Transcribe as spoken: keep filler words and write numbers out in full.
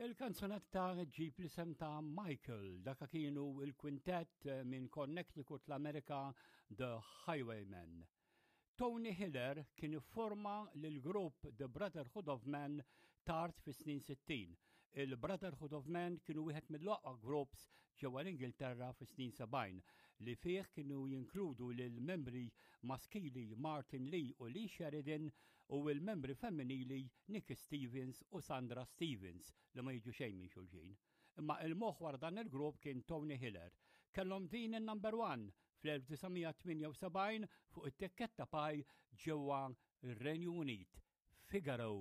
Il-kanzunetta ġġib l-isem ta' Michael, daka kienu il-kwintett minn Connecticut l-Amerika The Highwaymen. Tony Hiller kien ifforma l-grupp The Brotherhood of Men tard fis-snin sittin. Il-Brotherhood of Men kienu wieħed mill-aqwa groups ġewwa l-Ingilterra fis-snin sebgħin li fih kienu jinkludu lil membri maskili Martin Lee u Lee Sheridan u l-membri femminili Nicky Stevens u Sandra Stevens li ma jiġu xejn minn xulxin. Imma il-moħħ wara dan il-grupp kien Tony Hiller. Kellhom din il-number one fl-elf disa' mija tmienja u sebgħin fuq it-tikketta Pye ġewwa r-Renju Unit. Figaro.